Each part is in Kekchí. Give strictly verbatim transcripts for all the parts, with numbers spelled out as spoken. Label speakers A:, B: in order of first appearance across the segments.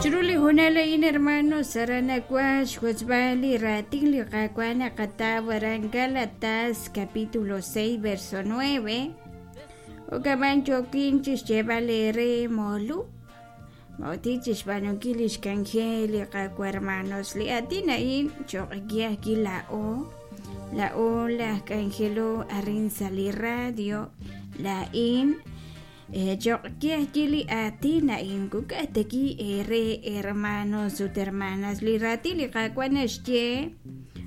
A: Chiru li hoonal a'in hermanos aran nawan xwotzb'al li raatin li Qaawa' naqataw aran Gálatas capítulo seis verso nueve. Jo'kaman yookin chixyeeb'al eere moolub' mo'ti chixb'aanunkil lix k'anjel li Qaawa' hermanos. Li aatin a'in choq' ke ajwi' laa'o laa'o laj k'anjelo arin sa' li radio laa'in choq' ke ajwi' li aatin a'in kuk'aj taki eere hermanos ut hermanas. Li raatin li Qaawa' naxye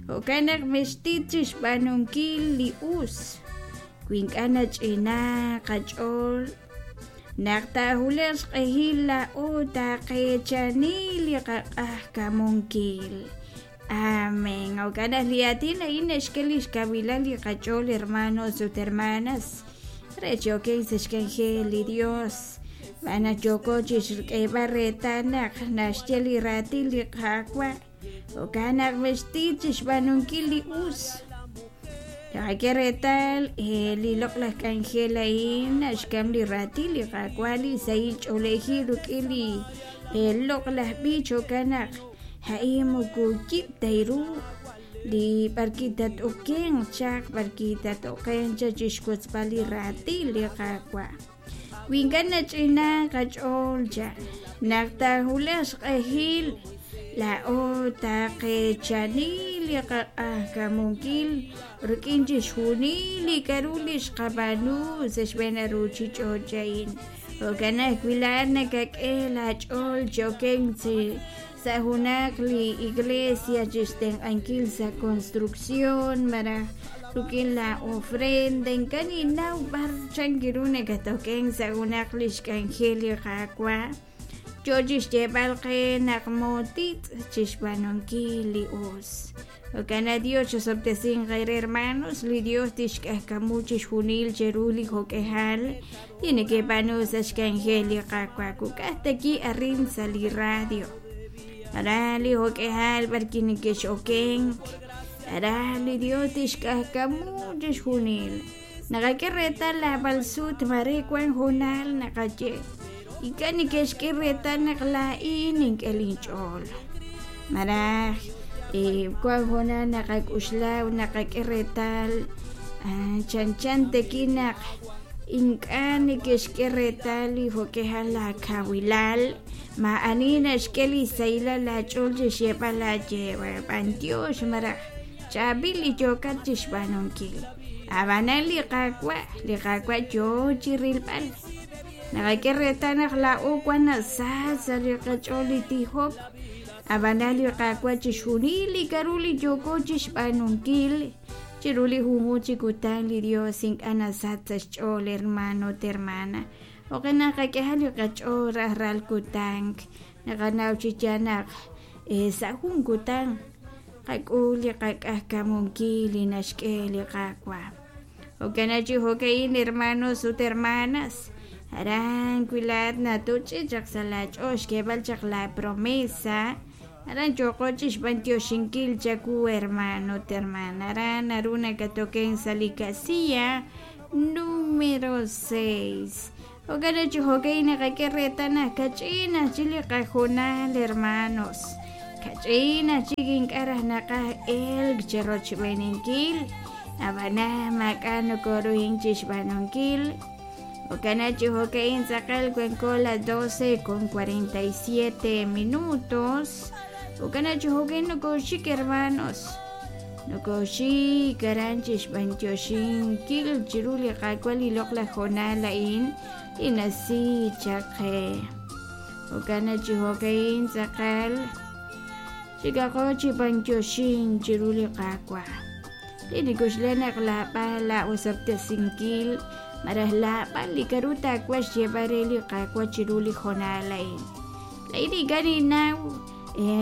A: jo'kan naq mextit chixb'aanunkil li us wi ink'a' nach'ina qach'ool naq taahulaq xq'ehil laa'o taaqeechani li qaq'ajkamunkil. Amén. Jo'kan naq li aatin a'in naxk'e lix kawilal li qach'ool hermanos ut hermanas re choken sa' xk'anjel li Dios. B'an naq yooko chixk'eeb'al reetal naq naxye li raatin li Qaawa' jo'kan naq mextit chixb'aanunkil li us. Naqak'e reetal li loq'laj k'anjel a'in naxk'am li raatin li Qaawa' li sahil ch'oolejil rik'in li loq'laj b'ich jo'kan naq a'in moko yib' ta ru li b'arki tat'okenq chaq b'arki tat'okenq chaq chixwotzb'al li raatin li Qaawa'. Wi ink'a' nach'ina qach'ool chaq naq taahulaq xq'ehil laa'o taaqeechani li qaq'ajkamunkil rik'in chixjunil li k'a'ru li xqab'aanu sa' xb'een ruchich'och' a'in. Jo'kan ajwi' laa'at nakak'e laach'ool choken sa' junaq li iglesia chixtenq'ankil sa' construcción malaj rik'in la ofrenda ink'a' ninnaw b'ar chan ru nakatoken sa' junaq li xk'anjel li Qaawa' yo chixyeeb'al qe naq mootit chixb'aanunkil li us. Jo'kan naq Dios chosob'tesinq eere hermanos, li Dios tixk'ajkamu chixjunil cheru li jo'k'ejal li nekeb'aanu sa' xk'anjel li Qaawa' kuk'aj taki arin sa' li radio. Aran li jo'k'ejal b'arki nekex'okenk aran li Dios tixk'ajkamu chixjunil. Naqak'e reetal lab'al sut mare wan hoonal naqaye ink'a' neke'xk'e reetal naq laa'in ink'e linch'ool. Maraj wan hoonal naqak'uxla ut naqak'e reetal chanchan taki naq ink'a' neke'xk'e reetal li jo'k'ejal laakawilal ma'ani naxk'e li sahilal laach'ool chixyeeb'al laaye b'antiox malaj chaab'il li yookat chixb'aanunkil. Ab'anan li Qaawa' li Qaawa' yoo chirilb'al. Naqak'e reetal naq laa'o wan nasach sa' li qach'ool li tijok. Ab'anan li Qaawa' chixjunil li k'a'ru li yooko chixb'aanunkil chiru li junjunq chi kutan li Dios ink'a' nasach sa' xch'ool hermano ut hermana. Jo'kan naqak'ehal li qach'ool rajlal kutan naqanaw chi yaal naq sa' jun kutan qak'ul li qak'ajkamunkil li naxk'e li Qaawa'. Jo'kan naq chi jo'ka'in hermanos ut hermanas aran wi laa'at natuch'i chaq sa' laach'ool xk'eeb'al chaq la promesa aran yooko chixb'antioxinkil chawu hermano ut hermana. Aran naru nakatoken sa' li casilla número seis. Jo'kan naq chi jo'ka'in naqak'e reetal naq kach'in ajchik li qajoonal hermanos. Kach'in ajchik ink'a' raj naqaj elk chirochb'eeninkil ab'anan maak'a' nokoruhin chixb'aanunkil. Jo'kan naq chi jo'ka'in tz'aqal wanko las doce con cuarenta y siete minutos. Jo'kan naq chi jo'ka'in nokoxik hermanos. Nokoxik aran chixb'antioxinkil chiru li Qaawa' li loq'laj hoonal a'in li nasi chaq qe. Jo'kan naq chi jo'ka'in tz'aqal xikaqo chib'antioxin chiru li Qaawa'. Li nikuxle naq laab'al laa'osob'tesinkil malaj laab'al li k'a'ru taawa' xyeeb'al re li Qaawa' chiru li hoonal a'in. Laa'in ink'a' ninnaw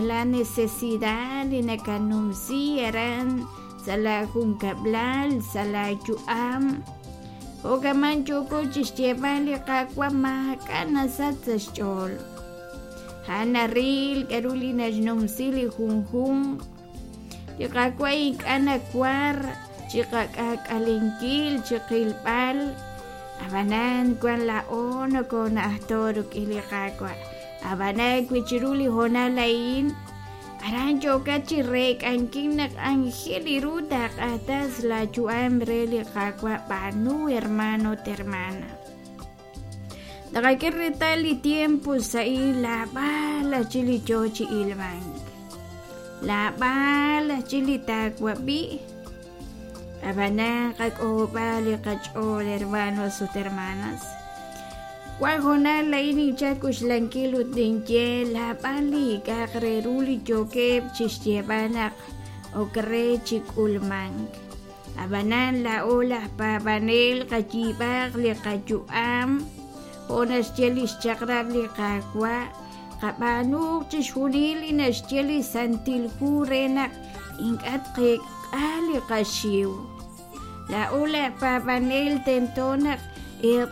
A: la necesidad li nakanumsi aran sa' la junkab'lal sa' la yu'am. Jo'kaman yooko chixyeeb'al li Qaawa' maak'a' nasach sa' xch'ool. A'an naril k'a'ru li naxnumsi li junjunq. Li Qaawa' ink'a' nawar chiqak'aak'alenkil chiqilb'al. Ab'anan wan laa'o nokona'ajto rik'in li Qaawa'. Ab'anan wi chiru li hoonal a'in aran yookat chi reek'ankil naq anjel ru taaq'atas laayu'am re li Qaawa' b'aanu hermano ut hermana. Taqak'e reetal li tiempo sa'in laab'al chi li yoo chi ilmank, laab'al chi li taawab'i. Ab'anan qak'ohob'a li qach'ool hermanos ut hermanas. Wan hoonal a'in ninchal k'uxlankil ut ninye laab'al li k'a'aq re ru li yookeb' chixyeeb'al naq ok re chi k'ulmank. Ab'anan laa'o laj paab'anel qayiib'aq li qayu'am jo' naxye li xchaq'rab' li Qaawa', qab'aanuuq chixjunil li naxye li Santil Hu re naq ink'a' tqeek'a li qaxiw. Laa'o laj paab'anel tento naq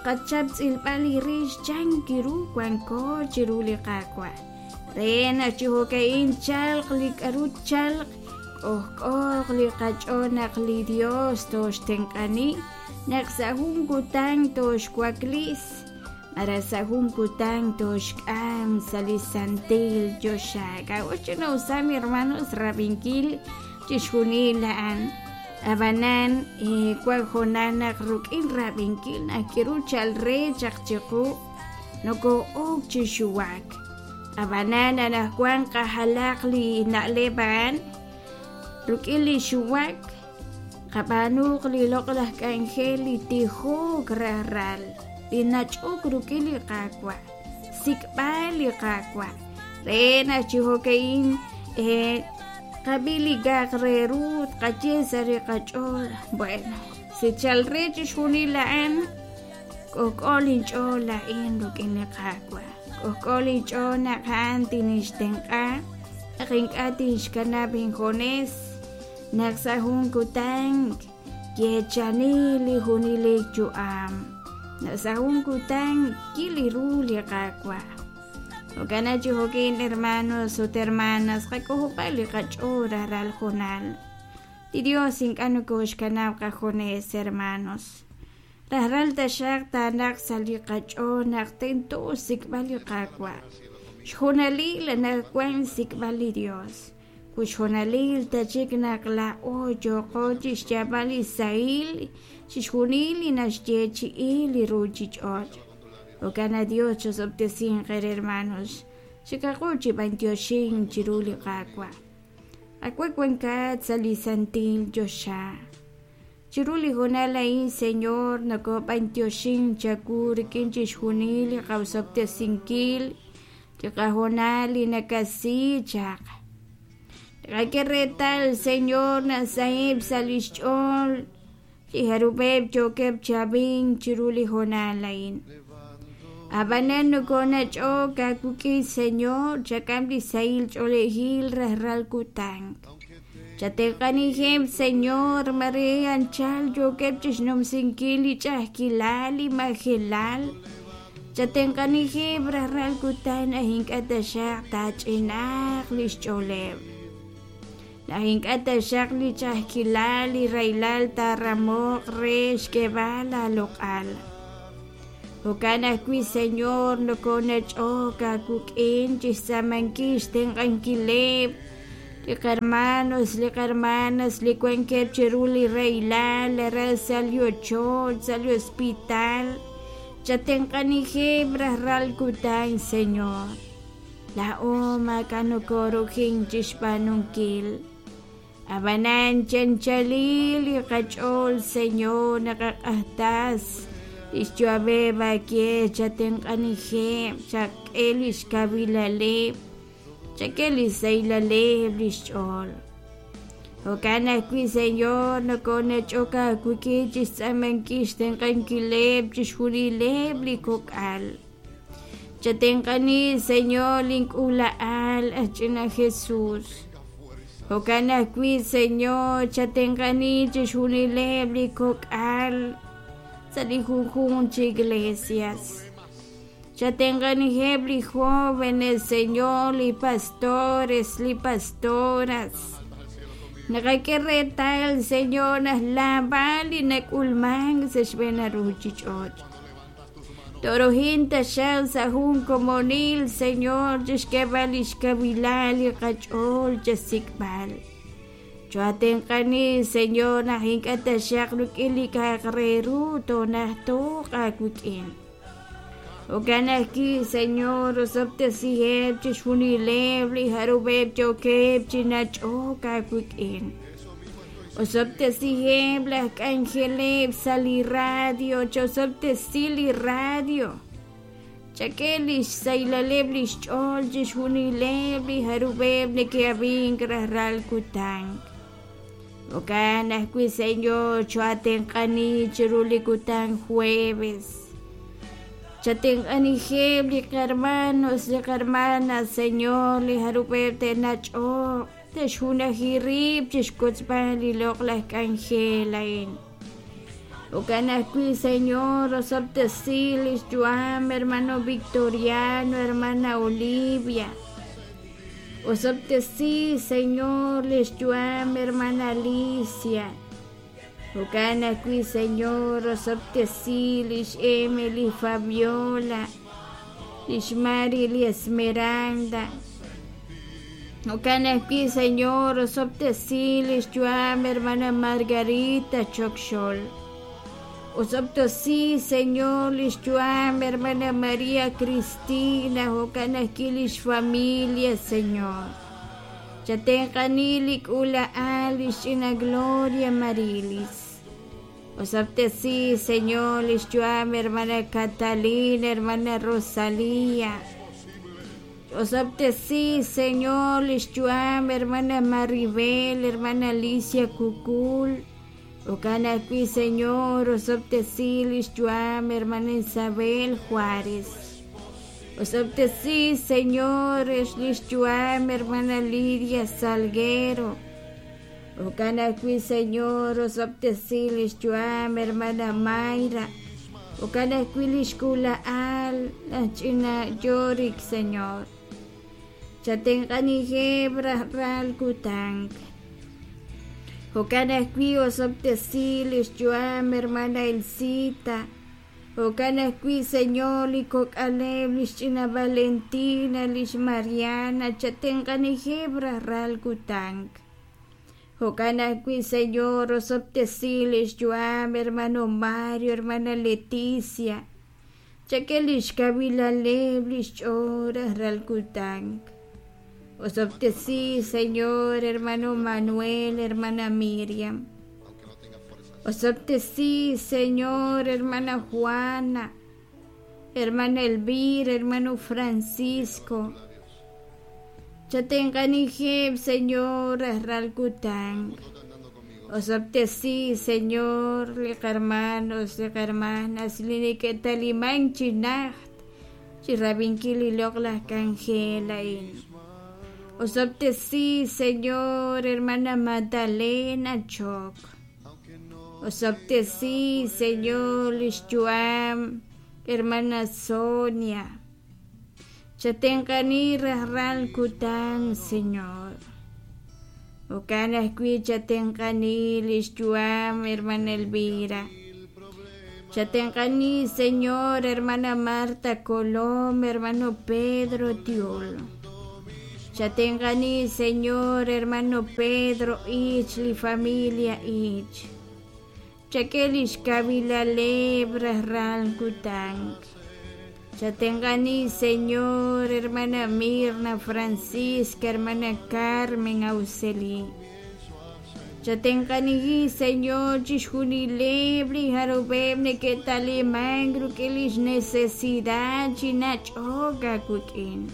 A: qachap tz'ilb'al li rix chan kiru wanko chiru li Qaawa' re naq chi jo'ka'in chalq li k'aru chalq k'ojk'ooq li qach'ool naq li Dios toxtenq'ani naq sa' jun kutan toxwaklis malaj sa' jun kutan toxk'am sa' li santil choxa. K'a'ut chinawsam hermanos rab'inkil chixjunil a'an. Ab'anan wan hoonal naq ruk'in rab'inkil naq kiru chal re chaq chiqu nokoo'ok chi xuwak. Ab'anan anaqwan qajalaq li na'leb' a'an ruk'in li xuwak qab'aanuuq li loq'laj k'anjel li tijok rajlal li nach'ok ruk'in li Qaawa', sik'b'al li Qaawa' re naq chi jo'ka'in qab'i li k'a'aq re ru tqaye sa' li qach'ool. Bueno, si chal re chixjunil a'an k'ojk'o linch'ool a'in ruk'in li Qaawa', k'ojk'o linch'ool naq a'an tinixtenq'a naq ink'a' tinxkanab' injunes naq sa' jun kutan yeechani li junelik yu'am, naq sa' jun kutan kil ru li Qaawa'. Jo'kan chi jo'kin hermanos ut hermanas qak'ojob'a li qach'ool rajlal hoonal. Li Dios ink'a' nokoxkanab' qajunes hermanos. Rajlal taxaq taanaq sa' li qach'ool naq tento xsik'b'al li Qaawa'. Xjunalil anaqwan xsik'b'al li Dios. Ut xjunalil tachik naq laa'o yooqo chixyaab'al li sahil chixjunil li naxyeechi'i li ruuchich'och'. Jo'kan Dios chosob'tesinq qe hermanos. Chikaqu chi b'antioxin chiru li Qaawa'. Qaawa' wankat sa' li santil choxa. Chiru li hoonal a'in Señor nokob'antioxin chawu rik'in chixjunil li qawsob'tesinkil li qahoonal li nakasi chaq. Tqak'e reetal Señor naq saheb' sa' li xch'ool li jarub'eb' yookeb' chab'in chiru li hoonal a'in. Ab'anan nokonach'ook aawik'in Señor chak'am li sahil ch'oolejil rajlal kutan. Chatenq'anijeb' Señor mare anchal yookeb' chixnumsinkil li ch'a'ajkilal li majelal. Chatenq'anijeb' rajlal kutan aj ink'a' taxaq taach'inaaq li xch'ooleb'. Naq ink'a' taxaq li ch'a'ajkilal li rahilal taaramoq re xk'eeb'al laaloq'al. Jo'kan ajwi' Señor nokonach'ook aawik'in chixtz'aamankil xtenq'ankileb' li qarmanos li qarmanas li wankeb' chiru li rahilal aran sa' li ochoch sa' li hospital. Chatenq'anijeb' rajlal kutan Señor. Laa'o maak'a' nokoorujin chixb'aanunkil. Ab'anan chanchalil li qach'ool Señor naqaq'ajtas lix yu'ameb' aak'e chatenq'anijeb' chak'e li xkawilaleb' chak'e li sahilaleb' li xch'ool. Jo'kan ajwi' Señor nokonach'ok aawik'in chixtz'aamankil xtenq'ankileb' chixjunileb' li kok'al. Chatenq'ani Señor link'uula'al aj ch'ina Jesús. Jo'kan ajwi' Señor chatenq'ani chixjunileb' li kok'al sa' li junjunq chi iglesias. Chatenq'anijeb' li jóvenes Señor, li pastores, li pastoras. Naqak'e reetal Señor naq laab'al li nak'ulmank sa' xb'een ruuchich'och'. Torohin taxaq sa' jun komonil, Señor, chixk'eeb'al lix kawilal li qach'ool chasik'b'al. Choatenq'ani, Señor, naq ink'a' taxaq rik'in li k'a'aq re ru toonajtooq aawik'in. Jo'kan ajwi', Señor, osob'tesiheb' chixjunileb' li jarub'eb' yookeb' chi nach'ok aawik'in. Osob'tesiheb' laj k'anjeleb' sa' li radio, chosob'tesi li radio. Chak'e lix saylaleb' lix ch'ool chixjunileb' li jarub'eb' neke'ab'ink rajlal kutan. Jo'kan ajwi', Señor, choatenq'ani chiru li kutan jueves. Chatenq'anijeb' li qarmanos, li qarmanas, Señor, li jarub'eb' te'nach'oq, te'xjunaji rib' chixkotzb'al li loq'laj k'anjel a'in. Jo'kan ajwi', Señor, osob'tesi lix yu'am, hermano Victoriano, hermana Olivia. Osob'tesi, Señor, lix yu'am, hermana Alicia. Jo'kan ajwi', Señor, osob'tesi lix Emily Fabiola, lix Mari li Esmeralda. Jo'kan ajwi', Señor, osob'tesi lix yu'am, hermana Margarita Chokxol. Osob'tesi, Señor, lix yu'am, hermana María Cristina, jo'kan ajwi' lix familia, Señor. Chatenq'ani li k'uula'al lix ch'ina Gloria Marilis. Osob'tesi, Señor, lix yu'am, hermana Catalina, hermana Rosalía. Osob'tesi, Señor, lix yu'am, hermana Maribel, hermana Alicia Cucul. Jo'kan ajwi', Señor, osob'tesi lix yu'am, hermana Isabel Juárez. Osob'tesi, Señor, lix yu'am, hermana Lidia Salguero. Jo'kan ajwi', Señor, osob'tesi lix yu'am, hermana Mayra. Jo'kan ajwi' lix k'uula'al laj ch'ina Yorik, Señor. Chatenq'anijeb' rajlal kutan. Jo'kan ajwi' osob'tesi lix yu'am, hermana Elcita. Jo'kan ajwi', Señor, li kok'aleb' lix ch'ina Valentina, lix Mariana, chatenq'anijeb' rajlal kutan. Jo'kan ajwi', Señor, osob'tesi lix yu'am, hermano Mario, hermana Leticia. Chak'e lix kawilaleb' lix ch'ool rajlal kutan. Osob'tesi, Señor, hermano Manuel, hermana Miriam. Osob'tesi, Señor, hermana Juana, hermana Elvira, hermano Francisco. Chatenq'anijeb', Señor, rajlal kutan. Osob'tesi, Señor, li qarmanos, li qarmanas, li neke'taliman chi najt, chi rab'inkil li loq'laj k'anjel a'in. Osob'tesi, Señor, hermana Magdalena Choc. Osob'tesi, Señor, lix yu'am, hermana Sonia. Chatenq'ani rajlal kutan, Señor. Jo'kan ajwi' chatenq'ani lix yu'am, hermana Elvira. Chatenq'ani, Señor, hermana Marta Colom, hermano Pedro Tiol. Chatenq'ani, Señor, hermano Pedro Ich, li familia Ich. Chak'e lix kawilaleb rajlal kutan. Chatenq'ani, Señor, hermana Mirna Francisca, hermana Carmen Auxeli. Chatenq'aniji, Señor, chixjunileb' li jarub'eb' neke'taliman ruk'in lix necesidad chinach'ok aawik'in.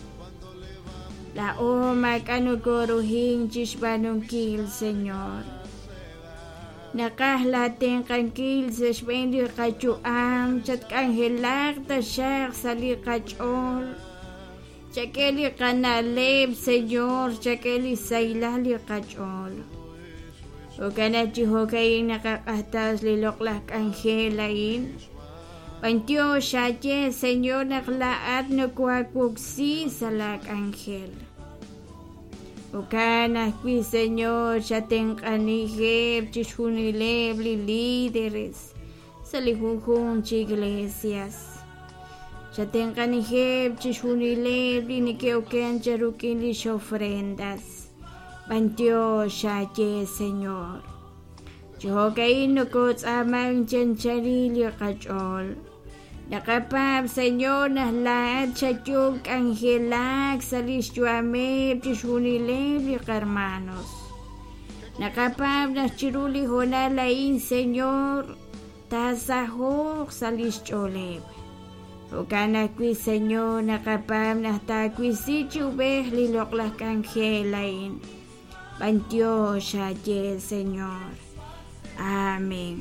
A: La'o maak'a' nokorujin chixb'aanunkil, Señor. Naqaj latenq'ankil sa' xb'een li qayu'am, chatk'anjelaq taxaq sa' li qach'ool. Chak'e li qana'leb', Señor, chak'e li saylal li qach'ool. Jo'kan aj chi jo'ka'in naqaq'ajtas li loq'laj k'anjel a'in. B'antiox xaye, Señor, naq la'at nokoawoksi sa' la k'anjel. Jo'kan ajwi', Señor, chatenq'anijeb' chixjunileb' li líderes sa' li junjunq chi iglesias. Chatenq'aniheb' chixjunileb' li neke'oken rik'in lix ofrendas. B'antiox aaye, Señor. Chi jo'ka'in nokotz'aaman chi anchalil li qach'ool. Naqapaab', Señor, naq laa'at xayo'ob' k'anjelak sa' lix yu'ameb' chixjunileb' li qarmanos. Naqapaab' naq chiru li hoonal a'in, Señor, taasaho'q sa' lix ch'ooleb'. Jo'kan ajwi', Señor, naqapaab' naq taawisi chi ub'ej li loq'laj k'anjel a'in. B'antiox aaye, Señor. Amén.